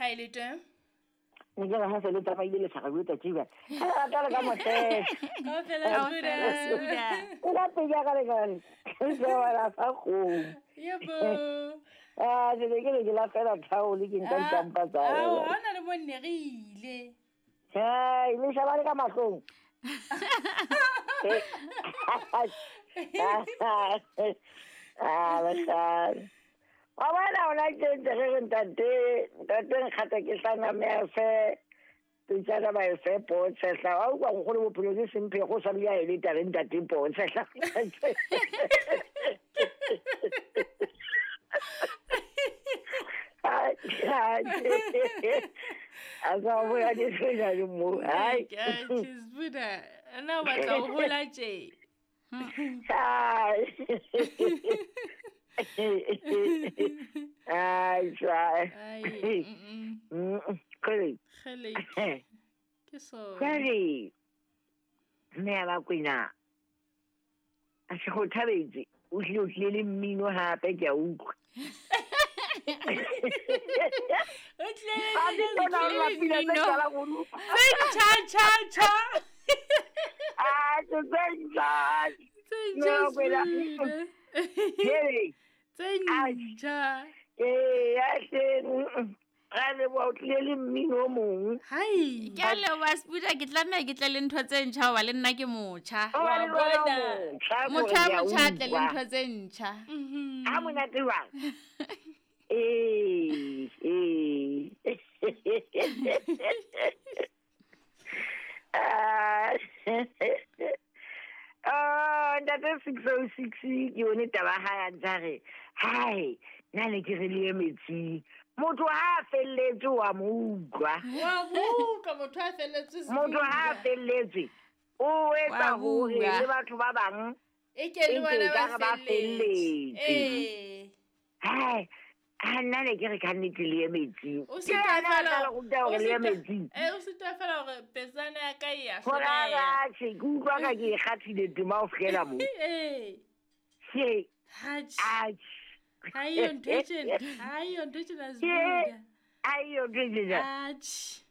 Ha e le teng. Ne ke re ha se le tsamaile le tlhaga bjo tsatsi bjale. Ga le rata le ka motlele. Kaofela Sbuda. O ka pedi ya ka le kare. Ke wela fa kgomo. Yebo. Ah, ke ne ke re ke lafela thaole ke nka dikampa tsa. Ao, ha ona le mo nne re ile. Hai, le shaba le ka mahlong. Ah, basadi. Wa bona ona ke ntse re re ntate, ntate nkgata ke hlana mme a fe pitsana ba e fe poo tshehla. Wa utlwa nkgono bophelo ke semphe go sa le ya e le tare ntate poo tshehla. A sa boya ke tshwenya le mo. Hai. Sbuda, na o batla ho hola tje? Hai. Ai, tjha. Ai, mm. Kgele. Kgele. Ke so. Jwale mme ya Bakwena a se go thabetse o tlile o tlile le mmino hape ke a utlwa. O tlile Ba ke tsona le o la pina tse mmino. qalang ho di utlwa. Tse ntjha tjha tjha. Ah, tse ntjha. Tse No, ntjha Kwena. Sbuda. Hele. Tse Ai. ntjha. Ee, ya hle. Ra leboha o tlile le mmino o mong. Hai. Ke a leboha Sbuda, ke tlameha ke tle le ntho tse ntjha hoba le nna ke motjha. O ba le Wa wena o bona. motjha, Motho kore a ke a motjha a tle le utlwa. ntho tse ntjha. Ha monate jwang? Ee, ee. Ah, ah, ntate 606 ke yone taba ha ya ntse a re, hai, nna ne ke re le ye metsing. Motho ha a felletswe wa mo utlwa. Wa mo utlwa motho a felletswe Motho ha a Sbuda. felletswe o etsa Wa hore bua. le batho ba bang E ke le e bona ke ba ekare ba felletse. felletse. Ee. Hai, ha nna ne ke re ka nnete le ye metsing. O Ke sitwa yena a fela tla le ruta hore le ye metsing. o sitwa fela hore petsana ya ka e a Hore a hloleha. ratjhe, ke utlwa ka ke e kgathile tema ho fihlela moo. Ee. Ke, Hatjhe. atjhe. Ha eyo ntho e tjena. Ha eyo ntho e tjena Ke, Sbuda. ha eyo ntho e tjena. Atjhe.